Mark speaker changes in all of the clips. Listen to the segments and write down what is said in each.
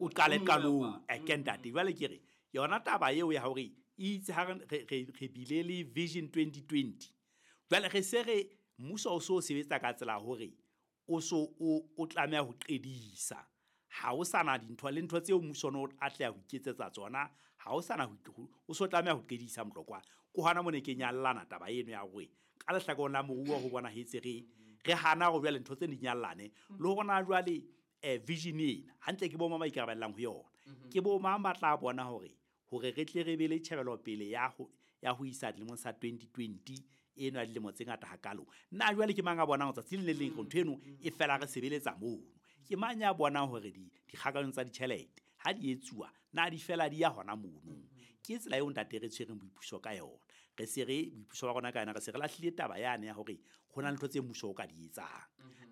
Speaker 1: O qale qalong ke ntate. Jwale ke re yona taba eo ya hore itse ha re bile le Vision 2020, jwale re se re mmuso o so sebetsa ka tsela hore o so o tlameha ho qedisa. Ha o sana dintho le ntho tseo mmuso no atleha ho iketsetsa tsona, ha o sana o so tlameha ho qedisa Motlokwa. Ke hona mone ke nyallana taba eno ya hore ka lehlakoreng la moruo ho bona hetse re hana hore jwale ntho tse di nyallane le hore na jwale vision ena hantle ke bo mang ba ikarabellang ho yona, ke bo mang ba tla bona hore re tle re be le tjhebelopele ya ho isa dilemong sa 2020 eno ya dilemo tse ngata hakalo. Nna jwale ke mang a bonang tsatsi le leng ntho eno e fela re sebeletsa mono? Ke mang ya bonang hore dikgakanyong tsa ditjhelete ha di etsuwa na di fela di ya hona mono? Ke tsela eo ntate re tshwereng boipuso ka yona. Re se re boipuso ba rona ka yona, re se re lahlile taba yane ya hore ho na le ntho tse mmuso o ka di etsang,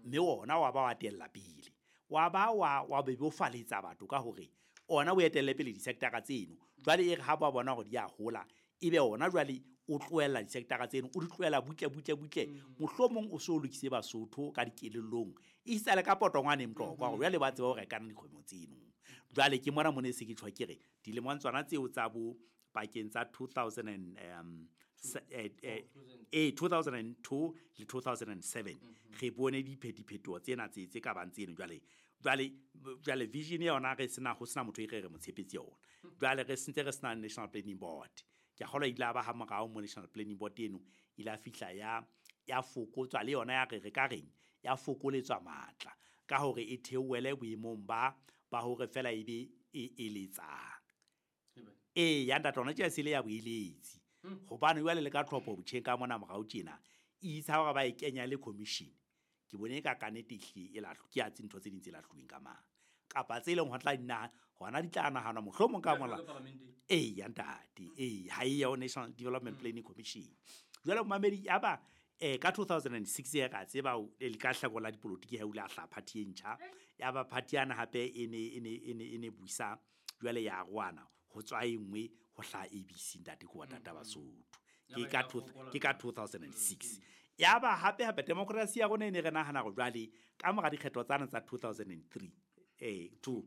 Speaker 1: mme ona wa ba wa tella pele, wa ba wa bebofaletsa batho ka hore ona o etelle pele di-sector-a tseno. Jwale e re ha ba bona hore di a hola, ebe ona jwale o tlohella di-sector-a tseno, o di tlohela butle butle butle, mohlomong o so lokise Basotho ka dikelellong, e sale ka potongwane Motlokwa hore jwale ba tseba ho rekana dikgwebo tseno. Jwale ke mona mone se ke tjho ke re dilemong tsona tseo tsa bo pakeng tsa 2002 le 2007 re bone diphetoho tsena tse ka bang tseno. Jwale vision ya yona re sena ho sena motho e re mo tshepetse yona. Jwale re sentse re sena National Planning Board. Ke a kgolwa ile ba ha morao mo National Planning Board eno ile a fihla ya fokotswa le yona ya re ka reng ya fokoletswa matla ka hore e theohele boemong ba hore fela ebe e eletsang. Ya ntate ona tje sele ya boeletsi. Hobane jwale le ka tlhopho botjheng ka mona morao tjena e itsa hore ba e kenya le commission. Ke bone ka kannete ehlile e lahlo ke a tse ntho tse ding tse lahluweng ka mang kapa tse leng ho tla dina hona di tla nahana mohlomong ka mola. Ya ntate, ha e ya National Development Planning Commission. Jwale momamedi ya ba ka 2006 ya ka tseba le ka hlako la dipolotiki ha ula hla party e ntjha ya ba party yana hape e ne buisa jwale ya rwana ho tswa engwe ho hla ABC ntate ko tata Basotho ke ka 2006. Ya ba hape hape democracy ya rona e ne re nahana hore jwale ka mora dikgetho tsana tsa 2003 2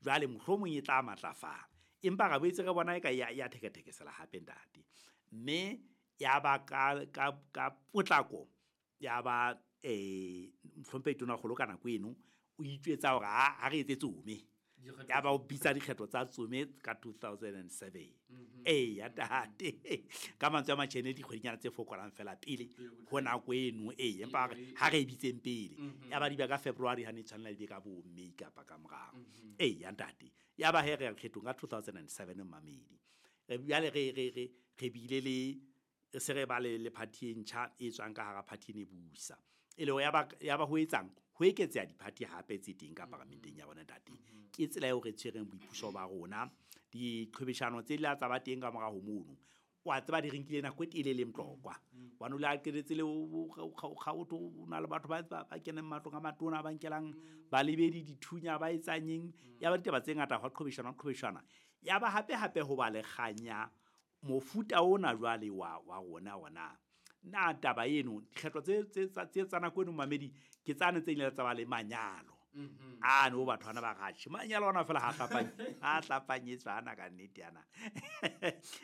Speaker 1: jwale mohlomong e tla matlafala, empa re boetse re bona e ka ya thekethekesela hape ntate. Mme ya ba ka potlako ya ba mohlomphehi Tonakgolo ka nako eno o itjwetsa hore ha re etse tsome, ya ba o bitsa dikgetho tsa tsome ka 2007. Ya ntate, ka mantswe a matjhene dikgwedinyana tse fokolang fela pele ho nako eno, empa ha re e bitseng pele ya ba di ba ka February ha ne tshwanela di be ka bo May kapa ka morao. Ya ntate, ya ba he re kgethong ka 2007 mmamedi. Jwale re bile le se re ba le party e ntjha e tswang ka hara party e ne busa. E le ya ba ho etsang ho eketseha di-party hape tse teng ka paramenteng ya rona ntate. Ke tsela eo re tshwereng boipuso ba rona. Diqhwebeshano tse la tsa ba teng ka mora ho mono, wa tseba di re nkile nako e telele Motlokwa. Hobane o le a qetetse le o na le batho ba keneng matlong a matona, ba nkelang balebedi dithunya, ba etsang eng. Ya ba ditaba tse ngata hwa qhwebeshana. Ya ba hape hape ho ba le kganya mofuta ona jwale wa rona ona. Na taba eno dikgetho tse tsa nako eno mamedi ke tsane tse ile tsa ba le manyalo. A no batho bana ba ratjhe manyalo ona fela ha hlapanyetswa ana ka nnete ana.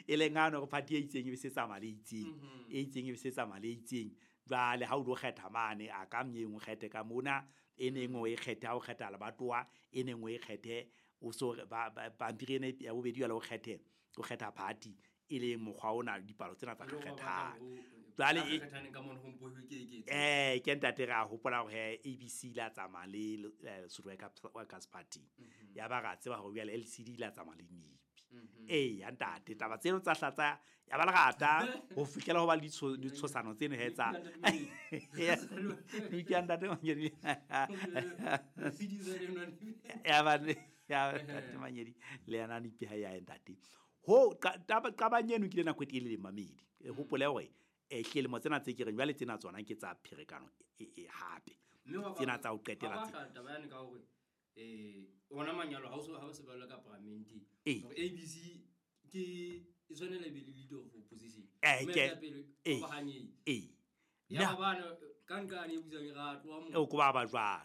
Speaker 1: E leng ano re party e itseng e be se tsamaya le itseng, e itseng e be se tsamaya le itseng. Jwale ha o lo kgetha mane a ka mnyeng o kgethe ka mona, e neng o e kgethe ha o kgetha lebatowa, e neng o e kgethe o so ba pampiri ena ya bobedi jwale o kgethe o kgetha party e leng mokgwa ona dipalo tsena tsa kgethang. Jwale ke ntate re a hopola hore ABC la tsamaya le Lesotho Workers Party. Ya ba ra tseba hore jwale LCD la tsamaya le NIP. Ya ntate taba tseno tsa hlatsa ya ba lerata ho fihlela ho ba le ditshosano tseno he tsa ya ntate Manyedi. Ya ba ya ntate Manyedi le yana NIP ha ya ntate. Ho qabang eno ke le nako e telele mamedi. Hopole hore hlelemo tsena tse ke reng jwale tsena tsona ke tsa pherekano e hape. Tsena tsa ho qetela tse.
Speaker 2: Taba yane ka hore ona manyalo ha o se balla ka parliament. Hore ABC ke e tshwanela be le leader of opposition. Ya ba bana ka nka ne butsang ra tloa mo.
Speaker 1: O ko ba ba jwalo.